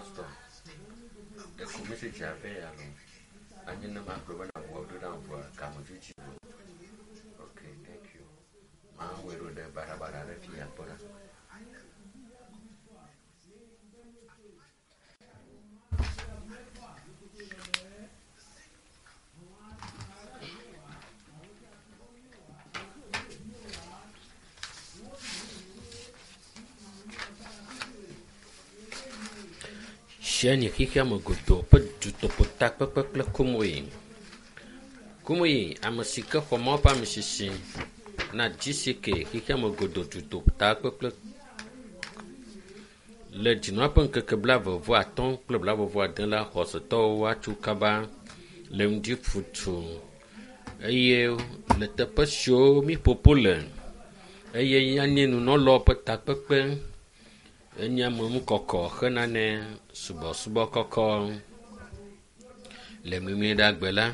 Pastor, ɖeko message ya vɛ ya loo. Anye ne magblɔ bena ʋua ɖo ɖam vɔa game dzodzi vɔ. Okay, thank you. Mawɔe ɖo ɖe baɖabaɖa ɖe fi ya kpɔ ɖa. Sheni xexeame godoo ƒe dutoƒo takpekpe kple Kumuyi. Kumuyi, ame si ke xɔ Mawu ƒe amisisi na GCK xexeame godoo dutoƒo takpekpe le dzinua ƒe ŋkeke 35 kple 40 la, xɔsetɔwo woatso kaba le ŋdi futu eye le teƒe siwo mi ƒoƒo le eye anye nunɔlawo ƒe takpekpe enye ameŋukɔkɔ henane subɔsubɔ kɔkɔ. Le Memleɖagbe la,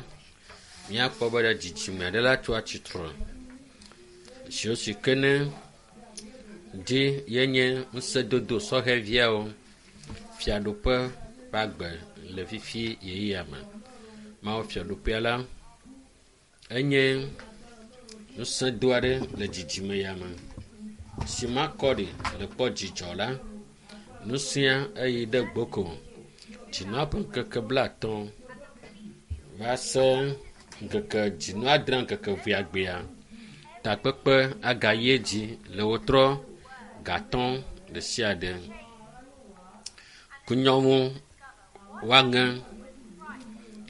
míakpɔ be ɖe dzidzime aɖe la tso atsitre siwo si ke ne dzi yenye ŋusẽdodo sɔhɛviawo fiaɖuƒe ƒe agbe le fifi ɣeyiɣia me. Mawu fiaɖuƒea la enye ŋusẽdo aɖe le dzidzime ya me si makɔ ɖi le kpɔ dzidzɔ la. Ŋusẽa eyi ɖe gboko. Dzinua ƒe ŋkeke 50 va se ŋkeke dzinu adre ŋkeke eveagbea. Takpekpe agayi edzi le wotrɔ gatɔ̃ ɖe sia ɖe. Kunyɔŋu woaŋe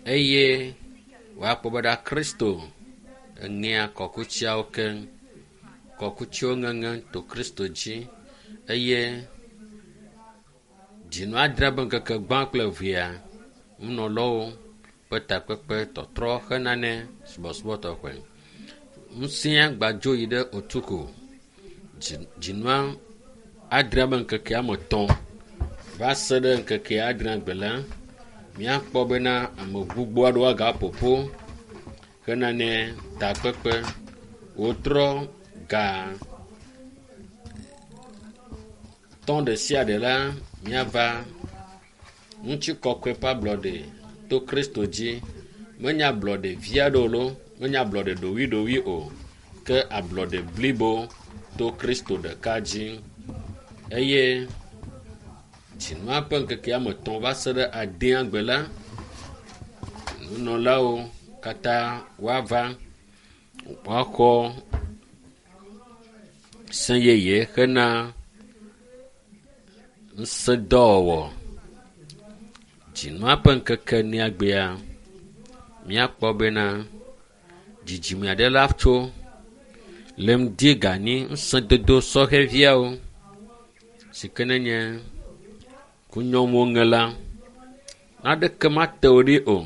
eye woakpɔ be ɖa Kristo eŋea kɔkutsiawo keŋ. Kɔkutsiwo ŋeŋe to Kristo dzi eye dzinu adre be ŋkeke gbã kple evea nunɔlawo ƒe takpekpe tɔtrɔ henane subɔsubɔ tɔxɛ. Ŋusẽa gbadzo yi ɖe Otuko. Dzinua adre be ŋkeke woame etɔ̃ va se ɖe ŋkeke adre gbe la, míakpɔ bena ame gbogbo aɖewo agaƒoƒu henane takpekpe. Wotrɔ ga tɔ̃ ɖe sia ɖe la, míava ŋutikɔkɔe ƒe ablɔɖe to Kristo dzi. Menye ablɔɖe vi aɖewo loo, menye ablɔɖe ɖowuiɖowui o, ke ablɔɖe blibo to Kristo ɖeka dzi. Eye dzinua ƒe ŋkeke woame etɔ̃ va se ɖe adea gbe la, nunɔlawo katã woava woaxɔ se yeye hena ŋusẽdɔwɔwɔ. Dzinua ƒe ŋkeke enea gbea, míakpɔ bena dzidzime aɖe la tso le ŋdi ga enyi ŋusẽdodo sɔhɛviawo si ke nenye kunyɔŋuwo ŋe la, naneke mate wo ɖi o.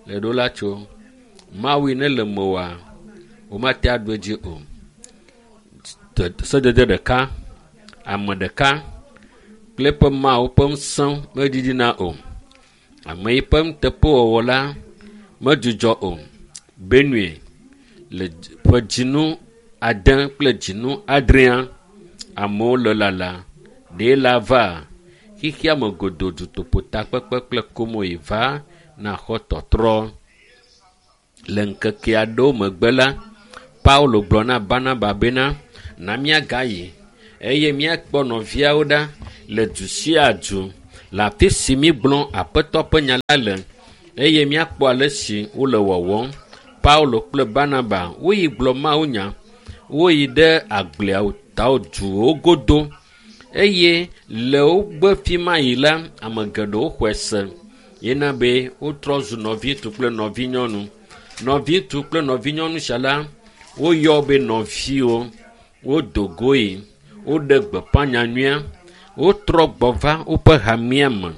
Le ɖo la tso Mawu yi ne le mewòa, womate aɖu edzi o. Sedede ɖeka, ame ɖeka kple eƒe Mawu ƒe ŋusẽ meɖiɖina o. Ame yi ƒe nuteƒewɔwɔ la medzudzɔ o. Benue le ƒe dzinu ade kple dzinu adrea, amewo le lala. Ɖe la va xexeame godoo dutoƒo takpekpe kple komoyi va naxɔ tɔtrɔ. Le ŋkeke aɖewo megbe la, Paulo gblɔ na Barnaba bena, na míagayi eye míakpɔ nɔviawo ɖa le du sia du le afi si mígblɔ Aƒetɔ ƒe nya la le eye míakpɔ ale si wole wɔwɔm. Paulo kple Barnaba woyi gblɔ mawunya. Woyi ɖe agbleawo duwo godo eye le wogbe fi ma yi la, ame geɖewo xɔe se yena be wotrɔ zu nɔviŋutsu kple nɔvinyɔnu. Nɔviŋutsu kple nɔvinyɔnu sia la, woyɔ be nɔviwo. Wodo go yi, woɖe gbeƒã nyanyuia, wotrɔ gbɔ va woƒe hamea me.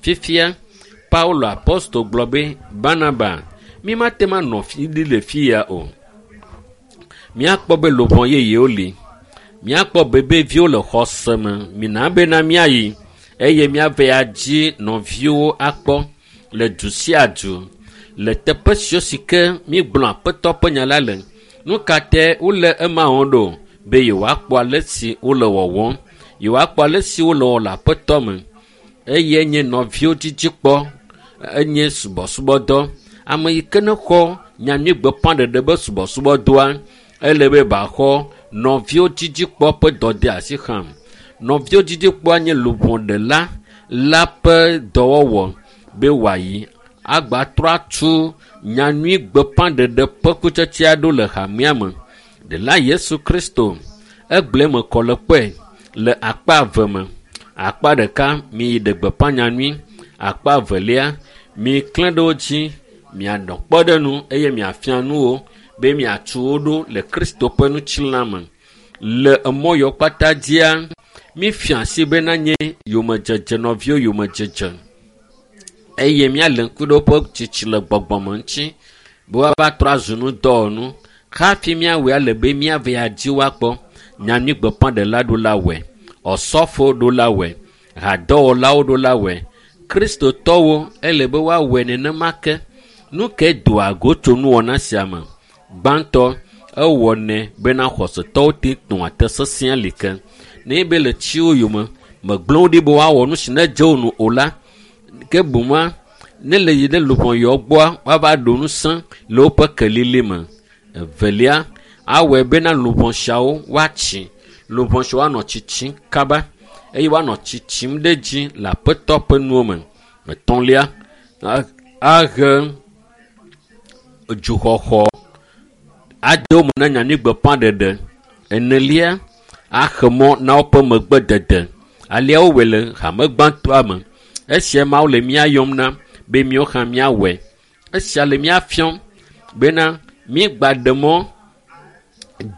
Fifia, Paulo apostol gblɔ be, Barnaba, mi mate ŋu anɔ fi ɖi le fi ya o. Míakpɔ be luʋɔ yeyewo li. Míakpɔ bebeviwo le xɔse me. Mina bena míayi eye míava adzi nɔviwo akpɔ le du sia du le teƒe siwo si ke mígblɔ Aƒetɔ ƒe nya la le. Nu ka tae wole ema wɔm ɖo? Be yewoakpɔ ale si wole wɔwɔm. Yewoakpɔ ale si wole wɔm le Aƒetɔ me. Eye nye nɔviwo dzidzikpɔ enye subɔsubɔdɔ. Ame yi ke ne xɔ nyanyuigbeƒãɖeɖe be subɔsubɔdɔa, ele be baxɔ nɔviwo dzidzikpɔ ƒe dɔdeasi hã. Nɔviwo dzidzikpɔa nye luʋɔɖela la ƒe dɔwɔwɔ be wòayi agbatrɔ atu nyanyuigbeƒãɖeɖe ƒe kutsetse aɖewo le hamea me. Ɖela Yesu Kristo egblɔe me kɔ le kpɔe le akpa eve me. Akpa ɖeka miyi ɖe gbeƒã nyanyui, akpa evelia miklẽ ɖe wo dzi mianɔ kpɔɖeŋu eye miafia nu wo be miatu wo ɖo le Kristo ƒe ŋutilã me. Le emɔ yawo kpata dzia, mifia asi be nanye yomedzedze nɔviwo yomedzedze eye míalé ŋku ɖe woƒe tsitsi le gbɔgbɔme ŋuti be woava trɔ azu nudɔwɔnu. Hafi míawɔe ale be míava ya dzi woakpɔ nyanyuigbeƒãɖela ɖo la wɔe, ɔsɔfo ɖo la wɔe, hadɔwɔlawo ɖo la wɔe, kristotɔwo ele be woawɔe nenema ke. Nu ke doa go tso nuwɔna sia me? Gbãtɔ, ewɔnɛ bena xɔsetɔwo te nɔa te sesĩa li ke. Ne be le tsiwo yome, megblẽ wo ɖi be woawɔ nu si nedze wo nu o la, ke boŋua, ne le yi ɖe luʋɔ yawo gbɔa, woava ɖo ŋusẽ le woƒe kelili me. Evelia, awɔe bena luʋɔ siawo woatsi. Luʋɔ siawo woanɔ tsitsim kaba eye woanɔ tsitsim ɖe dzi le Aƒetɔ ƒe nuwo me. Etɔ̃lia, ahe dzuxɔxɔ ade wo me na nyanyuigbeƒãɖeɖe. Enelia, axe mɔ na woƒe megbedede. Alea wowɔe le hame gbãtɔa me. Esia Mawu le mía yɔm na be míawo hã míawɔe. Esia le mía fiɔm bena mígba ɖe mɔ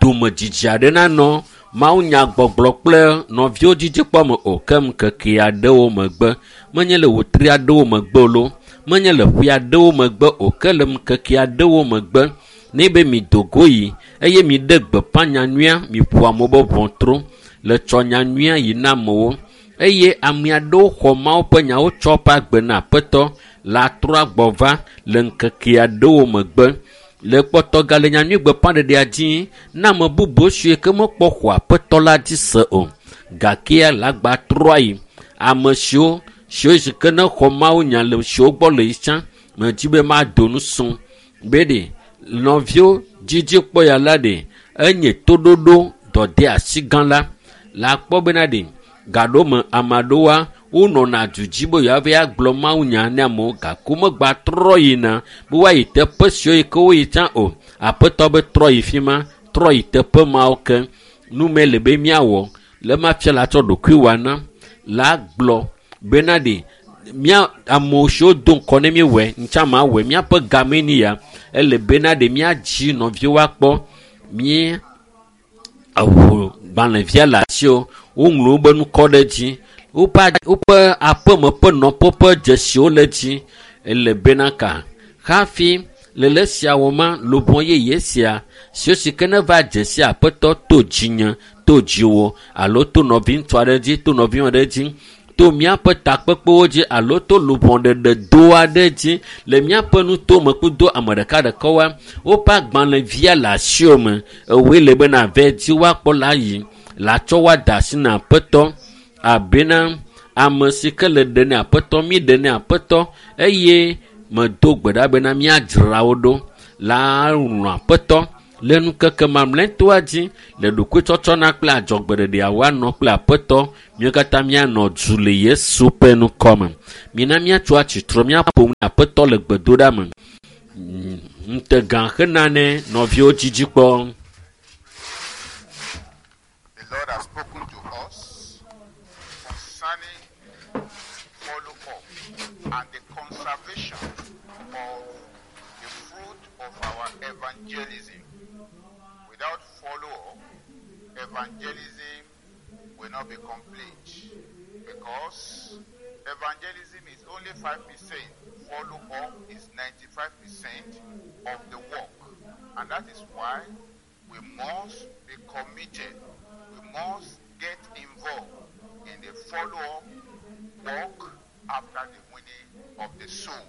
domedzidzi aɖe nanɔ mawunyagbɔgblɔ kple nɔviwo dzidzikpɔ me o ke ŋkeke aɖewo megbe. Menye le wòtri aɖewo megbe o loo, menye le ƒe aɖewo megbe o ke le ŋkeke aɖewo megbe. Ne be mido go yi eye miɖe gbeƒã nyanyuia, miƒo amewo be ʋɔtru le tsɔ nyanyuia yi na amewo eye ame aɖewo xɔ Mawu ƒe nyawo tsɔ woƒe agbe na Aƒetɔ la trɔ agbɔ va le ŋkeke aɖewo megbe. Le kpɔtɔ gale nyanyuigbeƒãɖeɖea dzi na ame bubu siwo ke mekpɔ xɔ Aƒetɔ la dzi se o. Gakea le agba trɔa yi. Ame siwo siwo si ke ne xɔ Mawu nya le siwo gbɔ le yi tsã, medzi be mado nu sum be ɖe nɔviwo dzidzikpɔ ya la ɖe enye toɖoɖo dɔdeasi gã la. Le akpɔ bena ɖe gaɖo me ame aɖewoa wonɔna du dzi be yewoava agblɔ mawunya ne amewo gake womegba trɔ yina be woayi teƒe siwo yi ke woyi tsã o. Aƒetɔ be trɔ yi fi ma, trɔ yi teƒe mawo ke. Nu me le be míawɔ le ma fia la tsɔ ɖokuiwòa na la gblɔ bena ɖe mía amewo siwo do ŋkɔ ne míewɔe ŋtsã ma wɔe míaƒe game ni ya ele bena ɖe míadzi nɔviwo akpɔ mí eʋu gbalẽvia le asiwo woŋlɔ wobe ŋkɔ ɖe dzi woƒe woƒe aƒeme ƒe nɔƒe ƒe dzesiwo le dzi ele bena ka hafi le le sia wɔ ma luʋɔ yeye sia siwo si ke ne va dze si Aƒetɔ to dzinye to dziwò alo to nɔviŋutsu aɖe dzi to nɔvinyɔnu aɖe dzi to míaƒe takpekpewo dzi alo to luʋɔɖeɖe do aɖe dzi le míaƒe nutome kudo ame ɖekaɖekawoa woƒe agbalẽvia le asiwò me ewòe le bena ave dzi woakpɔ la yi la tsɔ woada asi na Aƒetɔ abena ame si ke le ɖe ne Aƒetɔ mi ɖe ne Aƒetɔ eye medo gbe ɖa bena míadzra wo ɖo la lɔ̃ Aƒetɔ le ŋkeke mamlɛtɔa dzi le ɖokuitsɔtsɔna kple adzɔgbeɖeɖea woanɔ kple Aƒetɔ míawo katã míanɔ du le Yesu ƒe ŋkɔ me. Mina míatso atsitre míaƒo nu na Aƒetɔ le gbedoɖa me. Ŋutegã hena ne nɔviwo dzidzikpɔ. The Lord has spoken to us concerning follow-up and the conservation of the fruit of our evangelism. Without follow-up, evangelism will not be complete because evangelism is only 5%. Follow-up is 95% of the work. And that is why we must be committed. We must get involved in the follow-up work after the winning of the soul.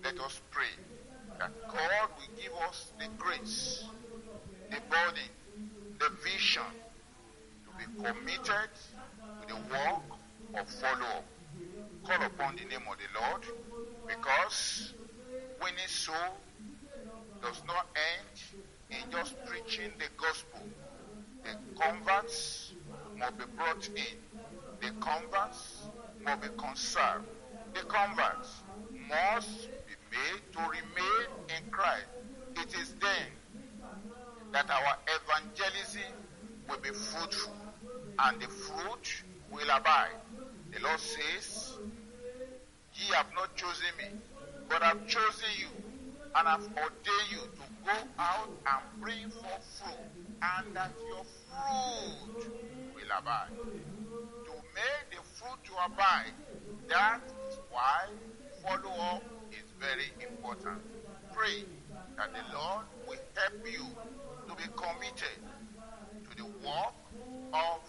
Let us pray that God will give us the grace, the body, the vision to be committed to the work of follow-up. Call upon the name of the Lord, because winning soul does not end in just preaching the gospel. The converts must be brought in. The converts must be conserved. The converts must be made to remain in Christ. It is then that our evangelism will be fruitful and the fruit will abide. The Lord says, "Ye have not chosen me, but have chosen you, and have ordained you to go out and bring forth fruit, and that your fruit will abide." To make the fruit to abide, that is why follow-up is very important. Pray that the Lord will help you to be committed to the work of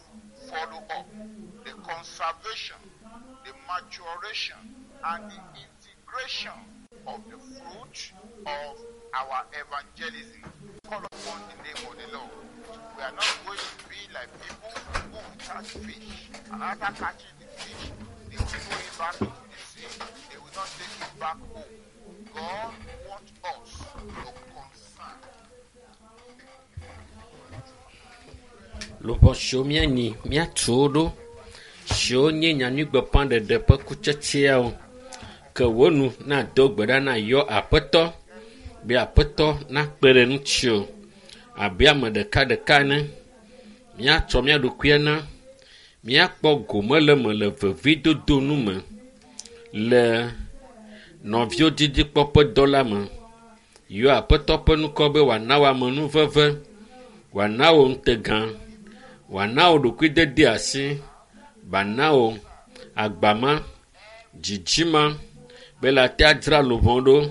follow-up, the conservation, the maturation, and the integration of the fruit of our evangelism. Call upon the name of the Lord. We are not going to be like people who will catch fish, and after catching the fish, they will throw it back into the sea. They will not take it back home. God wants us to concern. Luʋɔ siwo míanyi míatu wo ɖo siwo nye nyanyuigbeƒãɖeɖe ƒe kutsetseawo ke wo nu nado gbe ɖa na yɔ aƒetɔ be aƒetɔ nakpe ɖe ŋutiwò abe ame ɖekaɖeka ene. Míatsɔ mía ɖokuia na míakpɔ gome le eme le vevidodo nu me le nɔviwo didikpɔƒe dɔ la me. Yɔ aƒetɔ ƒe ŋkɔ be wòana wò amenuveve, wòana wò ŋutegã, wòana wò ɖokuidede asi, wòana wò agbama, dzidzima be le ate adzra luʋɔ ɖo.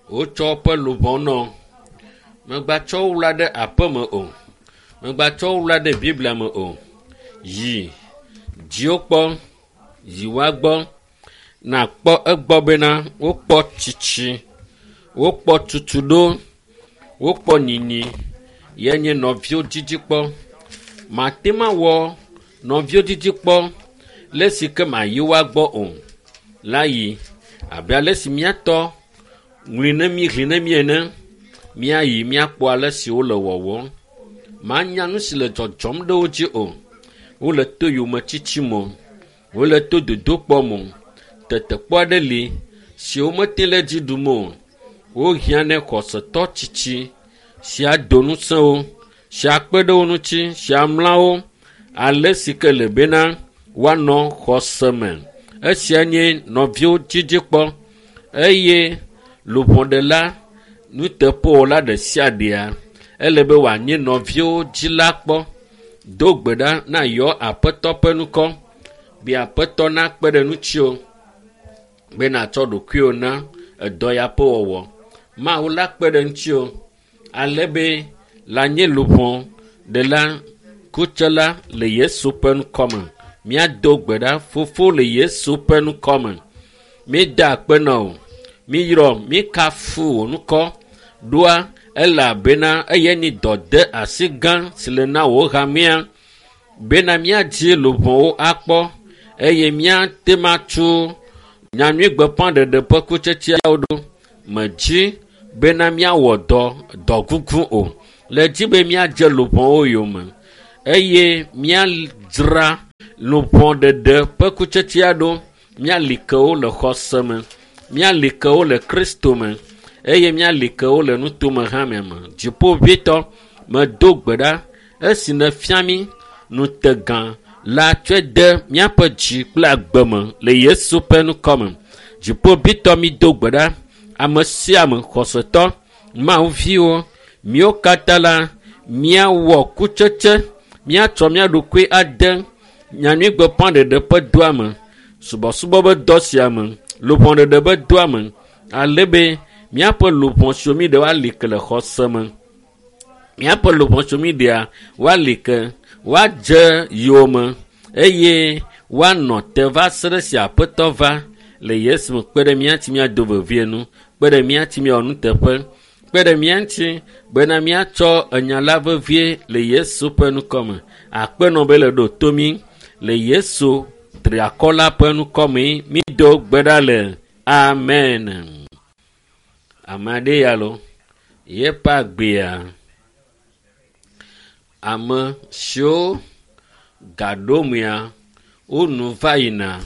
Wotsɔ woƒe luʋɔ nɔ. Mègatsɔ wo wla ɖe aƒeme o. Mègatsɔ wo wla ɖe Biblia me o. Yi dziwo kpɔ, yi woa gbɔ, nakpɔ egbɔ bena wokpɔ tsitsi, wokpɔ tutuɖo, wokpɔ nyinyi. Ye nye nɔviwo dzidzikpɔ. Mate ma wɔ nɔviwo dzidzikpɔ le si ke mayi woa gbɔ o la yi abe ale si míatɔ ŋlɔe ne mí ʋli ne mí ene. Míayi míakpɔ ale si wole wɔwɔm. Manya nu si le dzɔdzɔm ɖe wo dzi o. Wole to yometsitsi me o. Wole to dodokpɔ me o. Tetekpɔ aɖe li si womete le dzi ɖum o. Wohiã ne xɔsetɔ tsitsi si ado ŋusẽ wo, si akpe ɖe wo ŋuti, si amla wo ale si ke le bena woanɔ xɔse me. Esia nye nɔviwo dzidzikpɔ eye luʋɔɖela nuteƒewɔla ɖe sia ɖea ele be wòanye nɔviwo dzila kpɔ. Do gbe ɖa na yɔ aƒetɔ ƒe ŋkɔ be aƒetɔ nakpe ɖe ŋutiwò be nàtsɔ ɖokuiwò na edɔ ya ƒe wɔwɔ. Mawu la kpe ɖe ŋutiwò ale be le nye luʋɔ ɖela kutsela le Yesu ƒe ŋkɔ me. Míado gbe ɖa fofo le Yesu ƒe ŋkɔ me. Míeda akpe na wò. Míyrɔ, míkafu wò ŋkɔ ɖoa elabena eye nye dɔde asi gã si le na wò hamea bena míadzi luʋɔwo akpɔ eye míate ma tso nyanyuigbeƒãɖeɖe ƒe kutsetseawo ɖo. Medzi bena míawɔ dɔ dɔgugu o. Le dzi be míadze luʋɔwo yome eye míadzra luʋɔɖeɖe ƒe kutsetsea ɖo. Míali ke wo le xɔse me, míali ke wo le Kristo me eye míali ke wo le nutome hame me. Dziƒoʋĩtɔ, medo gbe ɖa esi nèfia mí ŋutegã la tsɔe de míaƒe dzi kple agbe me le Yesu ƒe ŋkɔ me. Dziƒoʋĩtɔ, mído gbe ɖa ame sia ame xɔsetɔ, Mawu viwo, míwo katã la míawɔ kutsetse, míatsɔ mía ɖokui ade nyanyuigbeƒãɖeɖe ƒe dɔa me, subɔsubɔ ƒe dɔ sia me, luʋɔɖeɖe ƒe dɔa me, ale be míaƒe luʋɔ siwo mí ɖe woali ke le xɔse me. Míaƒe luʋɔ siwo mí ɖea woali ke, woadze yowòme eye woanɔ te va se ɖe esi aƒetɔ va le Yesu me. Kpe ɖe mía ŋuti míado vevie nu, kpe ɖe mía ŋuti míawɔ nuteƒe, Kpe ɖe mía ŋuti bena míatsɔ enya la vevie le Yesu ƒe ŋkɔme. Akpenɔ be le ɖo to mí le Yesu triakɔ la ƒe ŋkɔme mído gbe ɖa le amen. Ame aɖe ya lo yeƒe agbea ame siwo gaɖo mea wonu va yina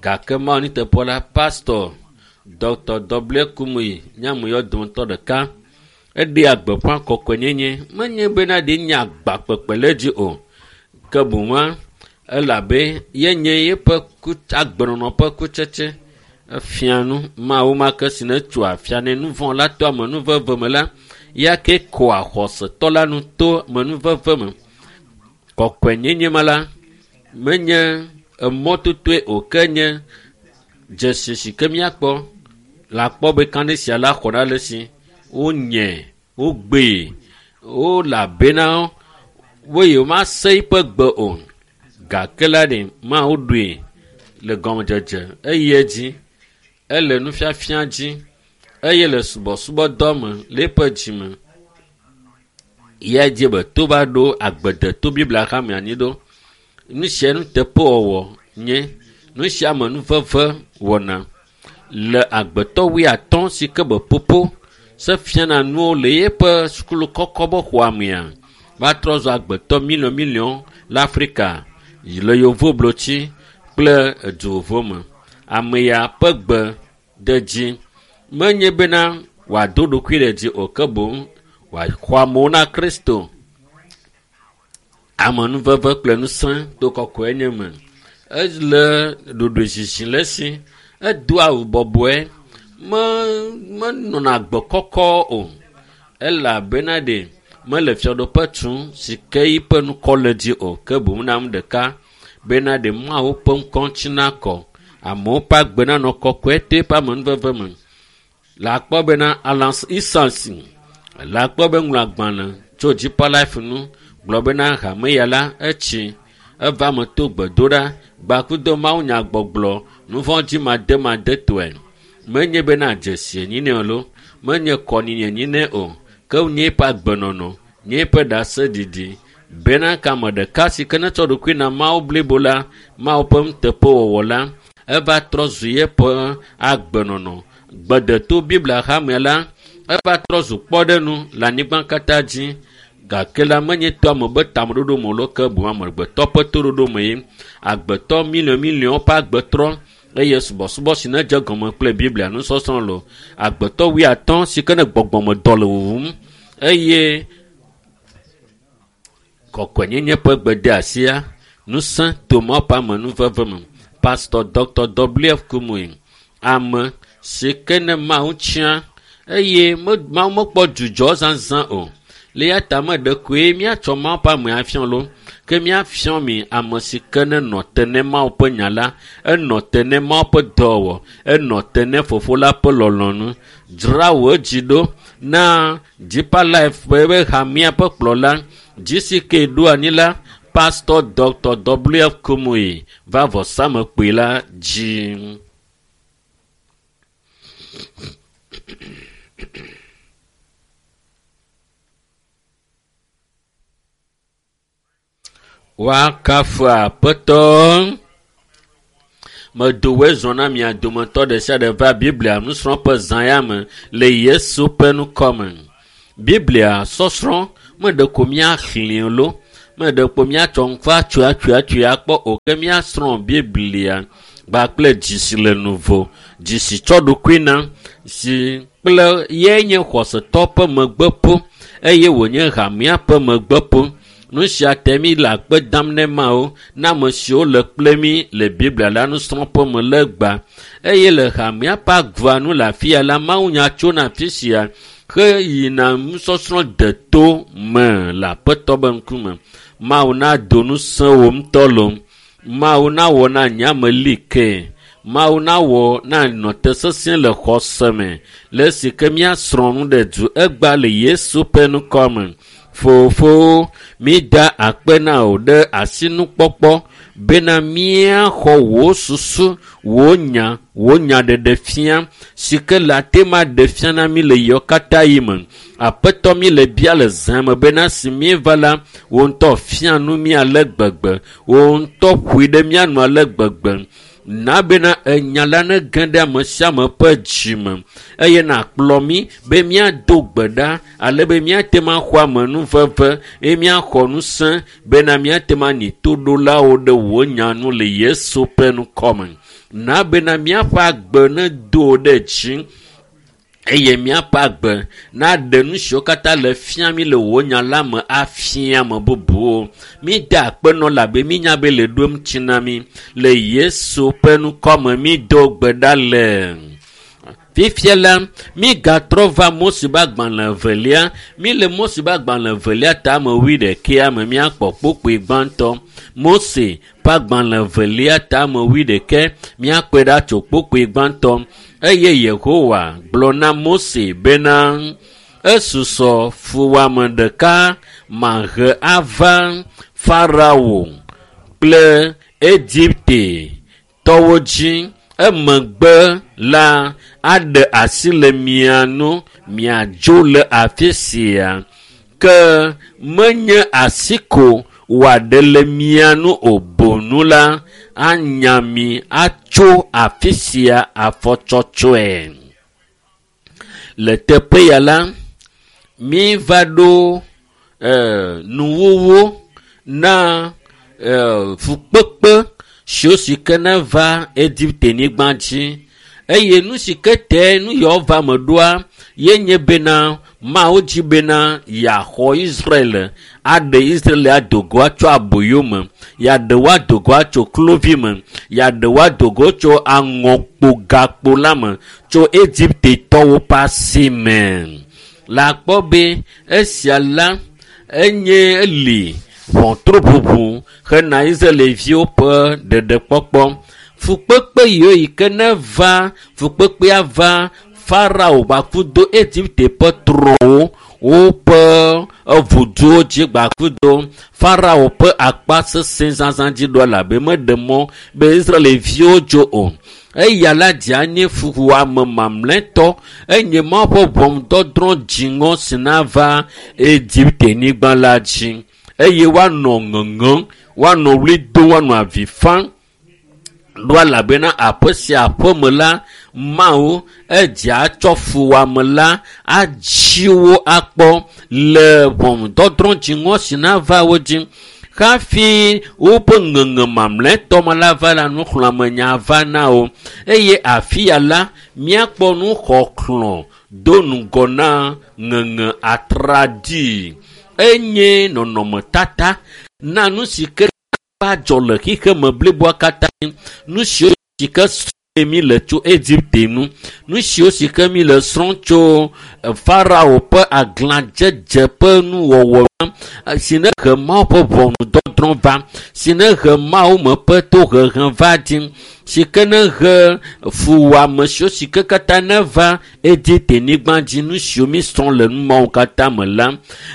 gake Mawu nuteƒewɔla pastor Dr. W. Kumuyi nye ame yawo dometɔ ɖeka. Eɖea gbeƒã kɔkɔenyenye menye bena ɖe nye agba kpekpe le edzi o ke boŋua elabe yenye yeƒe agbenɔnɔ ƒe kutsetse. Efia nu Mawu ma ke si ne tso afia ne nu vɔ̃ la to amenuveve me la, ya ke koa xɔsetɔ la nu to amenuveve me. Kɔkɔenyenye ma la menye emɔtotoe o ke nye dzesi si ke míakpɔ le akpɔ be kane sia la xɔ ɖa le si wonye wogbee wolabena wo yewo mase eƒe gbe o gake la ɖe Mawu ɖoe le gɔmedzedze eye edzi ele nufiafia dzi eye le subɔsubɔdɔ me le eƒe dzime. Ya dzi be to va ɖo agbedeto Biblia hame anyi ɖo. Nu sia nuteƒewɔwɔ nye nu sia me nuveve wɔna le agbetɔ wuiatɔ̃ si ke be popo se fiana nuwo le yeƒe sukulu kɔkɔ be xɔa mea va trɔ zu agbetɔ miliɔn miliɔn le Afrika le yevublotsi kple edu vovovo me. Ame ya ƒe gbe de dzi menye bena wòado ɖokui ɖe dzi o ke boŋ wòaxɔ amewo na Kristo. Amenuveve kple ŋusẽ to kɔkɔe nye me. Ele ɖoɖoezizi le esi. Edo awu bɔbɔe. Me menɔna agbe kɔkɔ o elabena ɖe mele fiaɖuƒe tum si ke yiƒe ŋkɔ le dzi o ke boŋ na nu ɖeka bena ɖe Mawu ƒe ŋkɔ ŋuti nakɔ. Amewo ƒe agbe nanɔ kɔkɔe to eƒe amenuveve me. Le akpɔ bena Alan Isansi le akpɔ be ŋlɔ agbalẽ tso Deeper Life nu gblɔ bena hame ya la etsi eva me to gbedoɖa gbakudo mawunyagbɔgblɔ nuvɔ̃dzimademadetɔe. Menye bena dzesi enyi nɛ o lo, menye kɔnyinyi enyi nɛ o, ke nye eƒe agbenɔnɔ, nye eƒe ɖaseɖiɖi bena ke ame ɖeka si ke netsɔ ɖokui na Mawu blibo la, Mawu ƒe nuteƒewɔwɔ la, eva trɔ zu yeƒe agbenɔnɔ. Gbedeto Biblia hamea la, eva trɔ zu kpɔɖeŋu le anyigba katã dzi gake la menye to ame be tameɖoɖo me o lo ke boŋ amegbetɔ ƒe toɖoɖo me ye. Agbetɔ miliɔn miliɔn ƒe agbe trɔ eye subɔsubɔ si ne dze gɔme kple Biblia nusɔsrɔ̃ lo. Agbetɔ wuiatɔ̃ si ke ne gbɔgbɔmedɔ le wuwum eye kɔkɔenyenye ƒe gbedeasia ŋusẽ to Mawu ƒe amenuveve me. Pastor Dr. W.F. Kumuyi, ame si ke ne Mawu tia eye Mawu mekpɔ dzudzɔ zazã o. Le eya ta me ɖe koe míatsɔ Mawu ƒe ame afiɔ lo ke míafiɔ mi ame si ke ne nɔ te ne Mawu ƒe nya la, enɔ te ne Mawu ƒe dɔwɔwɔ, enɔ te ne Fofo la ƒe lɔlɔ̃nu. Dzra wò dzi ɖo na Deeper Life ƒe hamea ƒe kplɔla GCK ɖo anyi la Pastor Dr. W.F. Kumuyi va vɔsamekpui la dzi. Woakafu Aƒetɔ. Medo woe zɔ na mia dometɔ ɖe sia ɖe va Biblia nusrɔ̃ƒe zã ya me le Yesu ƒe ŋkɔ me. Biblia sɔsrɔ̃ meɖe ko míaxlẽe lo, meɖe ko míatsɔ ŋku atsoe atsoe atsoe akpɔ o ke míasrɔ̃ Biblia kpakple dzi si le nuvo, dzi si tsɔ ɖokui na si kple ye nye xɔsetɔ ƒe megbeƒo eye wònye hamea ƒe megbeƒo. Nu sia te mí le akpe dam ne Mawu na ame siwo le kple mí le Biblia la nusrɔ̃ƒe me le gbã eye le hamea ƒe agua nu le afi ya la mawunya tsona afi sia heyina nusɔsrɔ̃ deto me le Aƒetɔ be ŋkume. Mawu nado ŋusẽ wò ŋutɔ lo. Mawu nawɔ na nye ame li ke. Mawu nawɔ na nɔ te sesĩe le xɔse me le esi ke míasrɔ̃ nu ɖe du egba le Yesu ƒe ŋkɔ me. Fofo, mída akpe na wò ɖe asinukpɔkpɔ bena míaxɔ wò susu, wò nya, wò nyaɖeɖe fia si ke le ate ma ɖe fia na mí le yewo katã yi me. Aƒetɔ mí le bia le zã me bena si míeva la, wò ŋutɔ fia nu mí ale gbegbe, wò ŋutɔ ƒoe ɖe mía nu ale gbegbe. Na bena enya la nege ɖe ame sia ame ƒe dzime eye nàkplɔ mí be míado gbe ɖa ale be míate ŋu axɔ amenuveve eye míaxɔ ŋusẽ bena míate ŋu anyi toɖolawo ɖe wò nya nu le Yesu ƒe ŋkɔme. Na bena míaƒe agbe nedo ɖe dzi eye míaƒe agbe naɖe nu siwo katã le fia mí le wò nya la me afia ame bubuwo. Mída akpe nɔ labe mínya be le ɖo eŋuti na mí. Le Yesu ƒe ŋkɔme mído gbe ɖa le. Fifia la, mígatrɔ va Mose ƒe agbalẽ evelia. Míle Mose ƒe agbalẽ evelia tame wuiɖekea me míakpɔ kpukpui gbãtɔ. Mose ƒe agbalẽ evelia tame wuiɖekɛ míakpɔe ɖa tso kpukpui gbãtɔ. Eye Yehowa gblɔ na Mose bena esusɔ fuwɔame ɖeka mahe ava Farao kple Egipte tɔwo dzi. Emegbe la aɖe asi le mia nu miadzo le afi sia. Ke menye asi ko wòaɖe le mia nu o boŋ la anya mi atso afi sia afɔtsɔtsɔe. Le teƒe ya la, míva ɖo nuwuwu na fukpekpe siwo si ke neva Egipte-nyigba dzi eye nu si ke te nu yawo va me ɖoa ye nye bena Mawu dzi bena yeaxɔ Israel aɖe Israel ado go atso aboyo me, yeaɖe wo ado go atso kluvi me, yeaɖe wo ado go tso aŋɔkpo gakpo la me tso Egiptetɔwo ƒe asi me. Le akpɔ be esia la enye eli ʋɔtru ʋuʋu hena Israelviwo ƒe ɖeɖekpɔkpɔ. Fukpekpe yiwo yi ke neva fukpekpea va Farao gbakudo Egipte ƒe trɔ̃wo woƒe evuduwo dzi gbakudo Farao ƒe akpa sesẽ zazã dzi ɖo elabe meɖe mɔ be Israelviwo dzo o. Eya la dze anyi fuwɔame mamlɛtɔ enye Mawu ƒe ʋɔnudɔdrɔ̃ dziŋɔ si nava Egipte-nyigba la dzi eye woanɔ ŋeŋem, woanɔ ɣli dom, woanɔ avi fam ɖo elabena aƒe sia aƒe me la, Mawu edze atsɔ fuwɔame la atsi wo akpɔ le ʋɔnudɔdrɔ̃ dziŋɔ si nava wo dzi. Hafi woƒe ŋeŋe mamlɛtɔ me la va la nuxlɔ̃amenya va na wo eye afi ya la míakpɔ nuxɔxlɔ̃ do ŋgɔ na ŋeŋe atraɖii. Enye nɔnɔmetata na nu si ke va dzɔ le xexeme bliboa katã. Nu siwo si ke srɔ̃ mi le tso Egipte nu, nu siwo si ke mi le srɔ̃ tso Farao ƒe aglãdzedze ƒe nuwɔwɔ si ne he Mawu ƒe ʋɔnudɔdrɔ̃ va, si ne he Mawu me ƒe tohehe va dzi, si ke ne he fuwɔame siwo si ke katã neva Egipte-nyigba dzi, nu siwo mi srɔ̃ le nu mawo katã me la,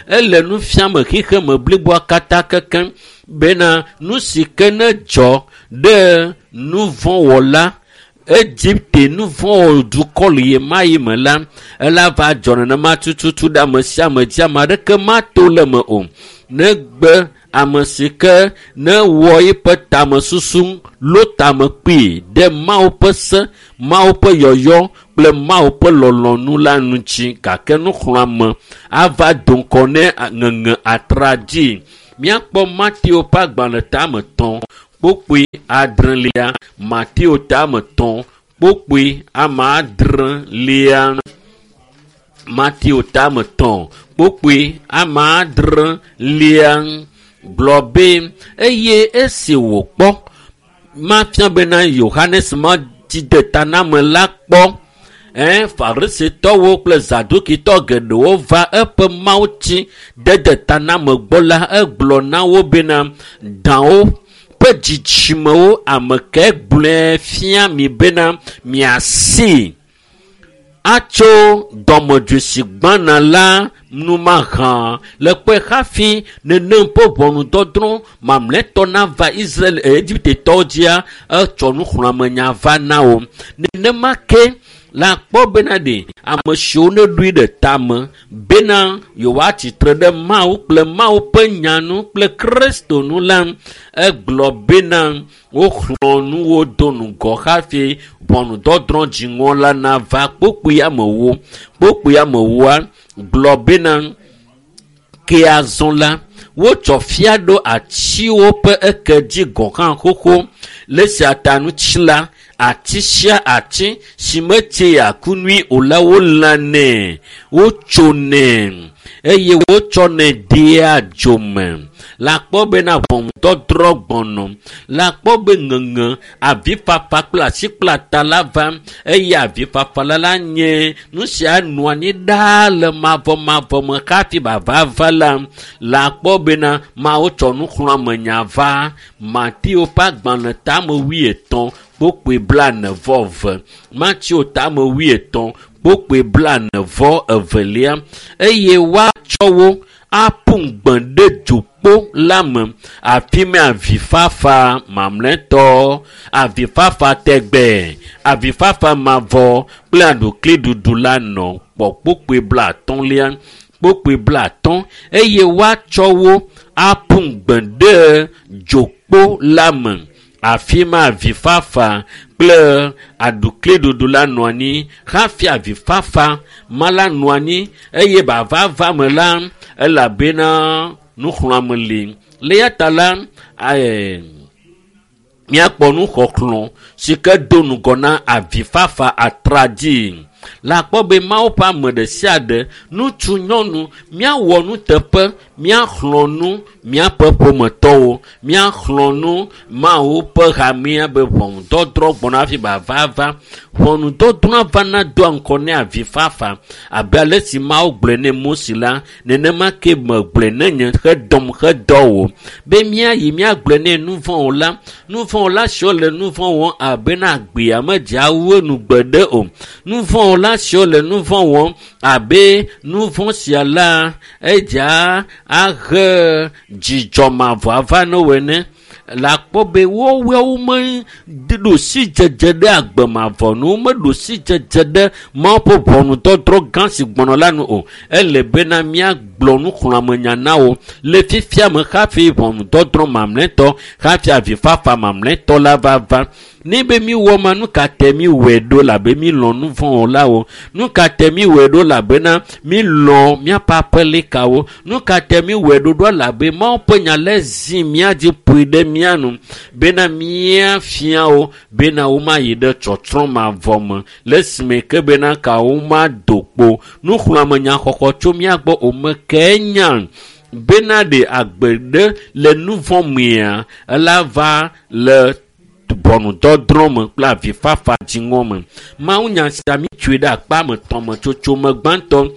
ele nu fiame xexeme bliboa katã kekeŋ bena nu si ke ne dzɔ ɖe nuvɔ̃wɔla Egipte nuvɔ̃wɔdukɔ le ɣe ma ɣi me la, ela va dzɔ nenema tututu ɖe ame sia ame dzi, ame aɖeke mato le eme o. Negbe ame si ke ne wɔ eƒe tamesusu lo tame kpui ɖe Mawu ƒe se, Mawu ƒe yɔyɔ kple Mawu ƒe lɔlɔ̃nu la ŋuti gake nuxlɔ̃ame ava do ŋgɔ ne ŋeŋe atraɖii. Míakpɔ Mateo ƒe agbalẽ tame 3 kpukpui 6. Mateo tame 3 kpukpui ame 6. Mateo tame 3 kpukpui ame 6 gblɔ be eye esi wòkpɔ mafia bena Yohanes Mawutsidetaname la kpɔ Farisitɔwo kple Zadukitɔ geɖewo va eƒe mawutsidedetaname gbɔ la, egblɔ na wo bena dawo ƒe dzidzimewo ame ke gblɔe fia mi bena miasi Atso dɔmedzoe si gbãna la numahã le kpɔe hafi nenem ƒe ʋɔnudɔdrɔ̃ mamlɛtɔ nava Israel Egiptetɔwo dzia etsɔ nuxlɔ̃amenya va na wo. Nenema ke la kpɔ bena ɖe ame siwo ne ɖoe ɖe tame bena yewoatsitre ɖe Mawu kple Mawu ƒe nya nu kple Kristo nu la, egblɔ bena woxlɔ̃ nu wo do ŋgɔ hafi ʋɔnudɔdrɔ̃ dziŋɔ la nava. Kpokpui amewo kpokpui amewoa gblɔ bena ke azɔ la wotsɔ fia ɖo atiwo ƒe eke dzi gɔ̃ hã xoxo le esia ta ŋuti la ati sia ati si metsea ku nyui o la wolãnɛ wotsonɛ eye wotsɔnɛ dea dzome. La kpɔ bena ʋɔnudɔdrɔ̃ gbɔnɔ la kpɔ be ŋeŋe avifafa kple asikplata la va eye avifafa la la nye nu sia nɔ anyi ɖaa le mavɔmavɔ me hafi bava va la la kpɔ bena Mawu tsɔ nuxlɔ̃amenya va Mateo ƒe agbalẽ tame wuietɔ̃ kpokpoe blaene vɔ eve Mateo tame wuietɔ̃ kpokpoe blaene vɔ evelia eye woatsɔ wo aƒu gbe ɖe dzokpo la me afi ma avifafa mamlɛtɔ avifafa tɛgbɛ avifafa mavɔ kple aɖukliɖuɖu la nɔ kpɔ kpokpoe blaatɔ̃lia kpokpoe blaatɔ̃ eye woatsɔ wo aƒu gbe ɖe dzokpo la me afi ma avifafa kple aɖukliɖuɖu la nɔ anyi hafi avifafa ma la nɔ anyi eye bavava me la elabena nuxlɔ̃ame li le ya ta la míakpɔ nuxɔxlɔ̃ si ke do ŋgɔ na avifafa atradzi la kpɔ be Mawu ƒe ame ɖe sia ɖe ŋutsu nyɔnu míawɔ nuteƒe míaxlɔ̃ nu míaƒe ƒometɔwo míaxlɔ̃ nu Mawu ƒe hamea be ʋɔnudɔdrɔ̃ gbɔna hafi bava va ʋɔnudɔdrɔ̃ vana doa ŋgɔ ne avifafa abe ale si Mawu gblɔe ne Mose la nenema ke megblɔe ne nye hedɔm hedɔ wò be míayi míagblɔe ne nuvɔ̃wɔla nuvɔ̃wɔla siwo le nuvɔ̃ wɔm abe na agbea medzea wu enu gbeɖe o nuvɔ̃wɔla siwo le nuvɔ̃ wɔm abe nuvɔ̃ sia la edzea ahe dzidzɔ mavɔ ava ne wo ene la kpɔ be woawo meɖo sidzedze ɖe agbe mavɔ nu womeɖo sidzedze ɖe Mawu ƒe ʋɔnudɔdrɔ̃ gã si gbɔnɔ la nu o ele bena míagblɔ nuxlɔ̃amenya na wo le fifia me hafi ʋɔnudɔdrɔ̃ mamlɛtɔ hafi avifafa mamlɛtɔ la va va ne be míwɔ ma nu ka te míwɔe ɖo labe mílɔ̃ nuvɔ̃wɔlawo nu ka te míwɔe ɖo labena mílɔ̃ míaƒe aƒelikawo nu ka te míwɔe ɖo ɖo labe Mawu ƒe nya le zi mía dzi ƒoe ɖe mía nu bena míafia wo bena womayi ɖe tsɔtsrɔ̃ mavɔ me le esime ke bena ka womado kpo nuxlɔ̃amenya xɔxɔ tso mía gbɔ o me ke nya bena ɖe agbe ɖe le nuvɔ̃ mea ela va le ʋɔnudɔdrɔ̃ me kple avifafa dziŋɔ me. Mawunya sia mítsoe ɖe akpa me tɔ̃ me tsotso me gbãtɔ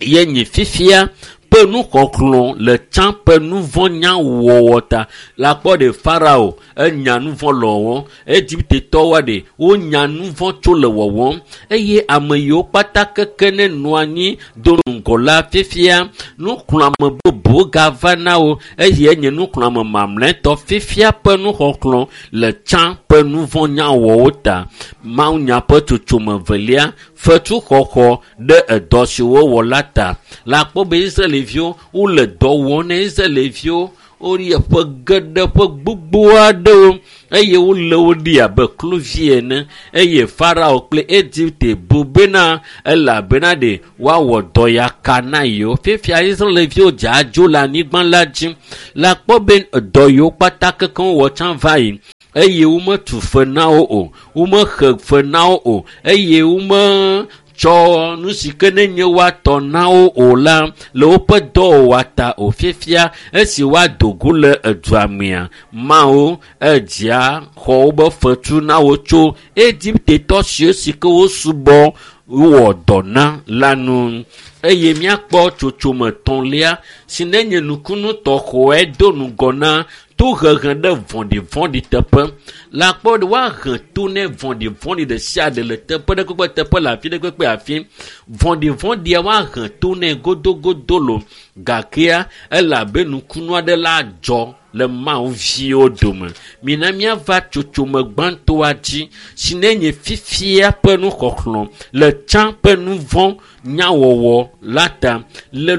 ye nyi fifia ƒe nuxɔxlɔ̃ le tsã ƒe nuvɔ̃nyawɔwɔ ta la kpɔ ɖe Farao enya nuvɔ̃ le wɔwɔm Egiptetɔwoa ɖe wonya nuvɔ̃ tso le wɔwɔm eye ame yiwo kpata keke ne nɔ anyi do ŋgɔ la fifia nuxlɔ̃ame bubu gava na wo eye enye nuxlɔ̃ame mamlɛtɔ fifia ƒe nuxɔxlɔ̃ le tsã ƒe nuvɔ̃nyawɔwɔ ta. Mawunya ƒe tsotsome velia fetuxɔxɔ ɖe edɔ si wowɔ la ta la kpɔ be Israelviwo wole dɔ wɔm ne Israelviwo woyi ƒe geɖe ƒe gbogbo aɖewo eye wole wo ɖi abe kluvi ene eye Farao kple Egipte bu bena elabena ɖe woawɔ dɔ ya ka na yewo fifia Israelviwo dze adzo le anyigba la dzi la kpɔ be dɔ yiwo kpata kekeŋ wɔ tsã va yi eye wometu fe na wo o womexe fe na wo o eye wome tsɔ nu si ke ne nye woatɔ na wo o la le woƒe dɔwɔwɔ ta o fifia esi woado go le edua mea Mawu edzia xɔ wobe fetu na wo tso Egiptetɔ siwo si ke wosubɔ wɔ dɔ na la nu. Eye míakpɔ tsotsome tɔ̃lia si nenye nukunu tɔxɔe do ŋgɔ na tohehe ɖe vɔ̃ɖivɔ̃ɖi teƒe. Le akpɔ ɖe woahe to ne vɔ̃ɖivɔ̃ɖi ɖe sia ɖe le teƒe ɖe kpekpe teƒe le afi ɖe kpekpe afi. Vɔ̃ɖivɔ̃ɖia woahe to nɛ godogodo lo gakea ele abe nukunu aɖe la dzɔ le Mawu viwo dome. Mina míava tsotsome gbãtɔa dzi si nenye fifia ƒe nuxɔxlɔ̃ le tsã ƒe nu vɔ̃ nyawɔwɔ la ta le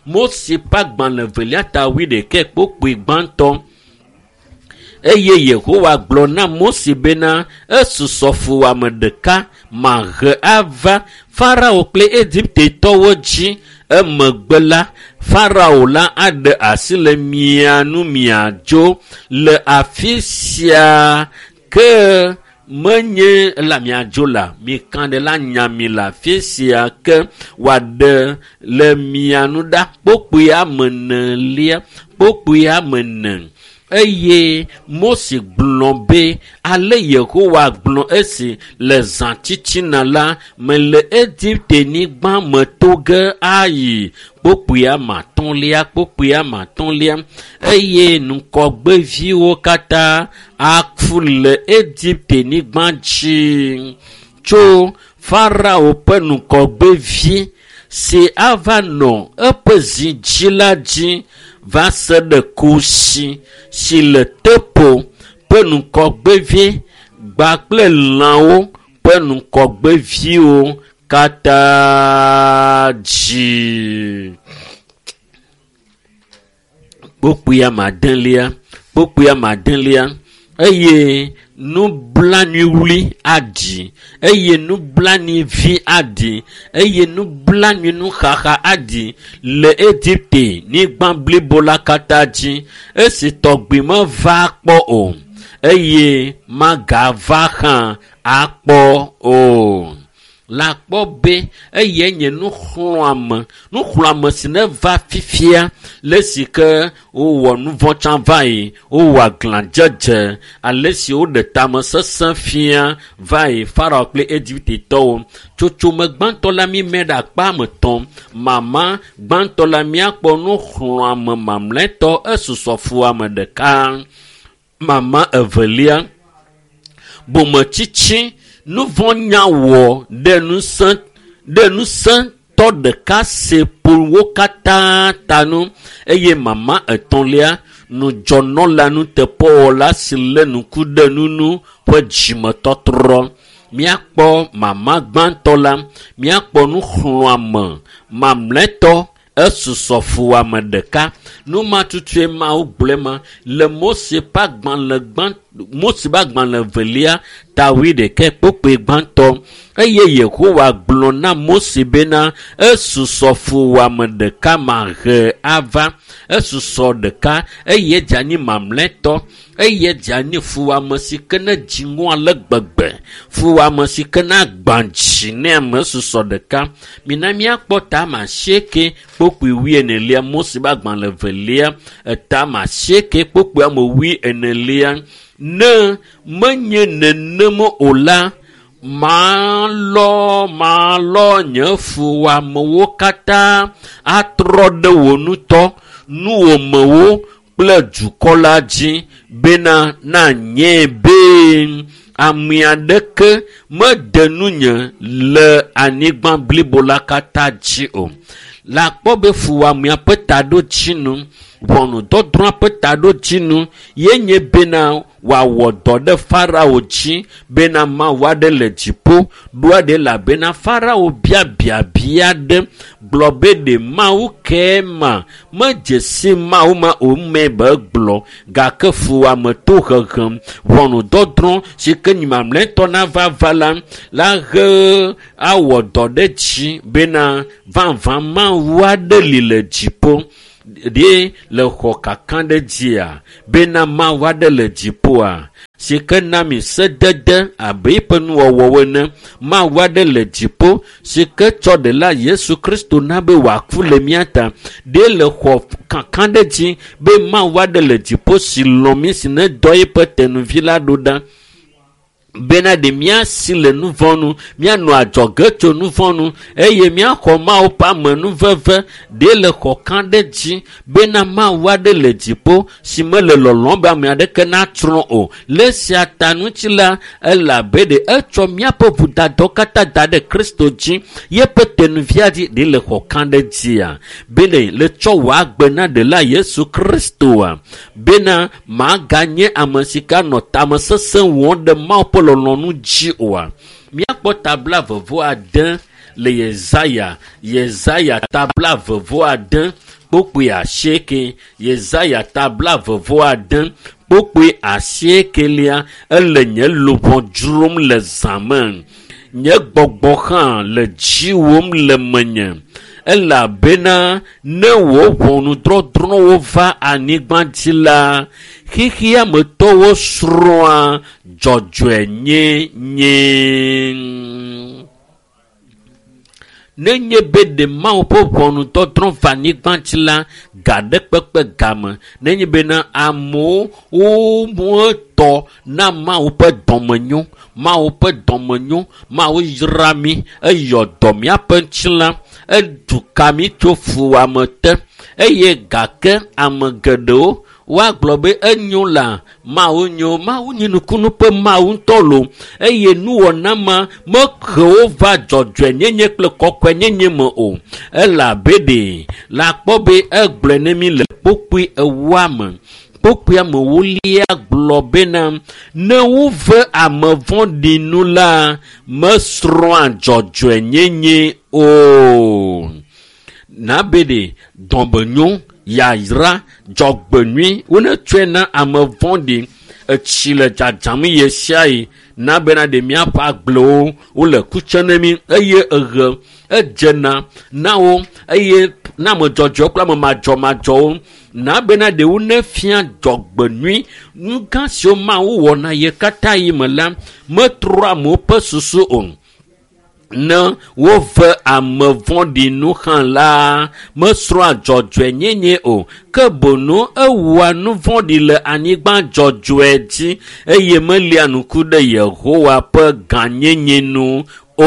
Mose ƒe agbalẽ velia ta wuiɖekɛ kpokpoe gbãtɔ. Eye Yehowa gblɔ na Mose bena esusɔ fuwɔame ɖeka mahe ava Farao kple Egiptetɔwo dzi. Emegbe la, Farao la aɖe asi le mia nu miadzo le afi sia ke menye la miadzo la mika ɖe la nya mi le afi sia ke wòaɖe le mia nu ɖa kpokpoe ame enelia kpokpoe ame ene. Eye Mose gblɔ be ale Yehowa gblɔ esi le zã titina la mele Egipte-nyigba me to ge ayi kpokpoe ame atɔ̃lia kpokpoe ame atɔ̃lia eye ŋgɔgbeviwo katã aku le Egipte-nyigba dzi tso Farao ƒe ŋgɔgbevi si ava nɔ eƒe zi dzi la dzi va se ɖe kusi si le tepo ƒe ŋgɔgbevi gba kple lãwo ƒe ŋgɔgbeviwo katã dzi. Kpokpoe ame adelia kpokpoe ame adelia eye nublanuiwli aɖi eye nublanuivi aɖi eye nublanuinuxaxa aɖi le Egipte nyigba blibo la katã dzi esi tɔgbi meva kpɔ o eye magava hã akpɔ o. La kpɔ be eye nye nuxlɔ̃ame nuxlɔ̃ame si neva fifia le si ke wowɔ nu vɔ̃ tsã va yi wowɔ aglãdzedze ale si woɖe tamesesẽ fia va yi Farao kple Egiptetɔwo. Tsotsome gbãtɔ la mímɛ ɖe akpa ame etɔ̃. Mama gbãtɔ la míakpɔ nuxlɔ̃ame mamlɛtɔ esusɔ fuwɔame ɖeka. Mama evelia bometsitsi nu vɔ̃ nyawɔ ɖe ŋusẽ ɖe ŋusẽtɔ ɖeka si ƒo wo katã ta nu eye mama etɔ̃lia nudzɔnɔla nuteƒewɔla si lé ŋku ɖe nunu ƒe dzimetɔtrɔ. Míakpɔ mama gbãtɔ la, míakpɔ nuxlɔ̃ame mamlɛtɔ esusɔ fuwɔame ɖeka. Nu ma tutue Mawu gblɔe ma le Mose ƒe agbalẽ gbã Mose ƒe agbalẽ velia ta wuiɖekɛ kpokpoe gbãtɔ. Eye Yehowa gblɔ na Mose bena esusɔ fuwɔame ɖeka mahe ava. Esusɔ ɖeka eye dze anyi mamlɛtɔ eye dze anyi fuwɔame si ke ne dziŋɔ ale gbegbe. Fuwɔame si ke ne agbã dzi ne ame esusɔ ɖeka. Mina míakpɔ ta ame asieke kpokpoe wuienelia Mose ƒe agbalẽ velia eta ame asieke kpokpoe ame wuienelia. Ne menye nenem o la, malɔ malɔ nye fuwɔamewo katã atrɔ ɖe wò ŋutɔ nuwòmewo kple dukɔ la dzi bena nanye be ame aɖeke mede nunye le anyigba blibo la katã dzi o. Le akpɔ be fuwɔamea ƒe taɖodzinu, ʋɔnudɔdrɔ̃a ƒe taɖodzinu ye nye bena wòawɔ dɔ ɖe Farao dzi bena Mawu aɖe le dziƒo ɖoa ɖe elabena Farao bia biabia aɖe gblɔ be ɖe Mawu ke ma medze si Mawu ma o me be gblɔ gake fuwɔame to hehem ʋɔnudɔdrɔ̃ si ke nyi mamlɛtɔ nava va la la he awɔ dɔ ɖe dzi bena vavã Mawu aɖe li le dziƒo ɖe le xɔ kaka ɖe dzia bena Mawu aɖe le dziƒoa si ke na mi sedede abe eƒe nuwɔwɔwo ene. Mawu aɖe le dziƒo si ke tsɔ ɖela Yesu Kristo na be wòaku le mía ta. Ɖe le xɔ kaka ɖe dzi be Mawu aɖe le dziƒo si lɔ̃ mí si ne dɔ eƒe tenuvi la ɖo ɖa. Bena ɖe míasi le nu vɔ̃ nu, míanɔ adzɔge tso nu vɔ̃ nu eye míaxɔ Mawu ƒe amenuveve ɖe le xɔ kã ɖe dzi bena Mawu aɖe le dziƒo si mele lɔlɔ̃m be ame aɖeke natsrɔ̃ o. Le esia ta ŋuti la, elabe ɖe etsɔ míaƒe vodadawo katã da ɖe Kristo dzi, yeƒe tenuvia dzi ɖe le xɔ kã ɖe dzia. Bene le tsɔ wò agbe na ɖela Yesu Kristoa, bena maganye ame si ke anɔ tamesesẽ wɔm ɖe Mawu ƒe lɔlɔ̃nu dzi oa. Míakpɔ tabla vevo ade le Yesaya, Yesaya tabla vevo ade kpokpoe asieke, Yesaya tabla vevo ade kpokpoe asiekelia, ele nye luʋɔ dzrom le zã me. Nye gbɔgbɔ hã le dziwòm le menye. Elabena ne wò ʋɔnudɔdrɔ̃wo va anyigba dzi la, xexeametɔwo srɔ̃a dzɔdzɔenyenye. Nenye be ɖe Mawu ƒe ʋɔnudɔdrɔ̃ va anyigba dzi la, ga ɖe kpekpe game. Nenye bena amewo wotɔ na Mawu ƒe dɔmenyo, Mawu ƒe dɔmenyo, Mawu yra mí, eyɔ dɔ míaƒe ŋutilã, edu ka mí tso fuwɔame te eye gake ame geɖewo woagblɔ be enyo la Mawu nyo, Mawu nye nukunu ƒe Mawu ŋutɔ lo eye nuwɔna ma mehe wo va dzɔdzɔenyenye kple kɔkɔenyenye me o. Elabe ɖe la kpɔ be egblɔe ne mi le kpokpoe ewoa me. Kpokpoea me wolia gblɔ bena ne wove ame vɔ̃ɖi nu la, mesrɔ̃a dzɔdzɔenyenye o. Nabe ɖe dɔmenyo, yayra, dzɔgbenyui wonetsɔe na ame vɔ̃ɖi. Etsi le dzadzam ɣe sia ɣi na bena ɖe míaƒe agblewo wole kutse ne mí eye eɣe edzena na wo eye na ame dzɔdzɔewo kple ame madzɔmadzɔwo na bena ɖe wonefia dzɔgbenyui. Nu gã siwo Mawu wɔna ye katã yi me la metrɔ amewo ƒe susu o. Ne wove ame vɔ̃ɖi nu hã la, mesrɔ̃a dzɔdzɔenyenye o, ke boŋ ewɔa nu vɔ̃ɖi le anyigba dzɔdzɔe dzi eye melia ŋku ɖe Yehowa ƒe gãnyenye nu o.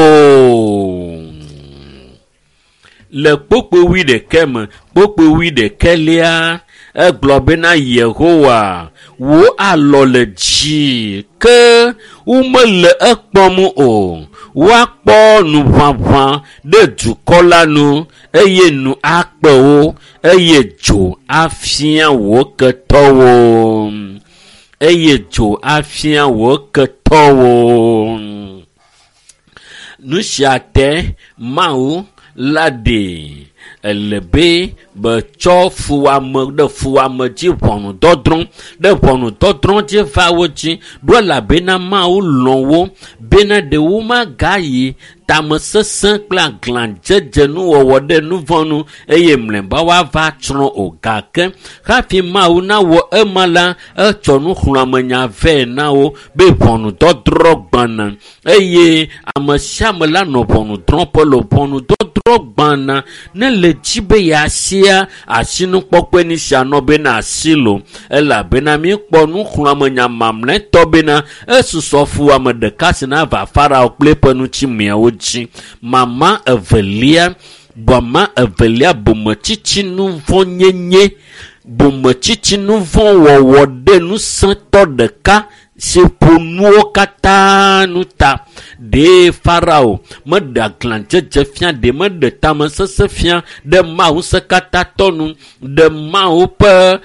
Le kpokpoe wuiɖekɛ me, kpokpoe wuiɖekɛlia, egblɔ bena Yehowa, wò alɔ le dzi ke womele ekpɔm o. Woakpɔ nuʋaʋã ɖe dukɔ la nu eye nu akpe wo eye dzo afia wò ketɔwo. Eye dzo afia wò ketɔwo. Nu sia te Mawu la ɖe ele be betsɔ fuwɔame ɖe fuwɔame dzi ʋɔnudɔdrɔ̃ ɖe ʋɔnudɔdrɔ̃ dzi va wo dzi ɖo elabena Mawu lɔ̃ wo bena ɖe womagayi tamesesẽ kple aglãdzedze nuwɔwɔ ɖe nu vɔ̃ nu eye mlɔeba woava tsrɔ̃ o. Gake hafi Mawu nawɔ ema la, etsɔ nuxlɔ̃amenya vɛ na wo be ʋɔnudɔdrɔ̃ gbãna eye ame sia ame la nɔ ʋɔnudrɔ̃ƒe le ʋɔnudɔdrɔ̃ gbãna ne le dzi be yeasia asinukpɔkpɔe ni sia nɔ bena asi lo elabena míekpɔ nuxlɔ̃amenya mamlɛtɔ bena esusɔ fuwɔame ɖeka si nava Farao kple eƒe ŋutimeawo dzi. Mama evelia, mama evelia bometsitsi nuvɔ̃nyenye, bometsitsi nuvɔ̃wɔwɔ ɖe ŋusẽtɔ ɖeka si ƒo nuwo katã nu ta. Ɖe Farao meɖe aglãdzedze fia, ɖe meɖe tamesesẽ fia ɖe Mawu ŋusẽkatãtɔ nu, ɖe Mawu ƒe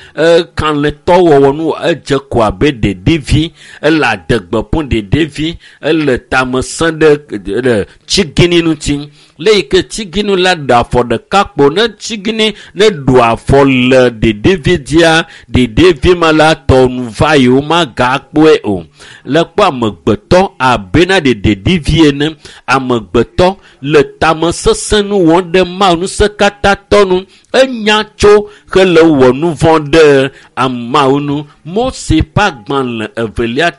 kalẽtɔwɔwɔ nu edze ko abe ɖeɖivi, ele adegbe ƒom ɖeɖivi, ele tamesẽ ɖe tsigini ŋuti. Le yi ke tsigini la ɖe afɔ ɖeka kpo ne tsigini ne ɖu afɔ le ɖeɖivi dzia, ɖeɖivi ma la tɔ nu va yi womagakpɔe o. Le kpɔ amegbetɔ abena ɖe ɖeɖivi ene, amegbetɔ le tamesesẽ nu wɔm ɖe Mawu ŋusẽkatãtɔ nu. Enya tso hele wɔ nu vɔ̃ ɖe Mawu nu. Mose ƒe agbalẽ evelia ta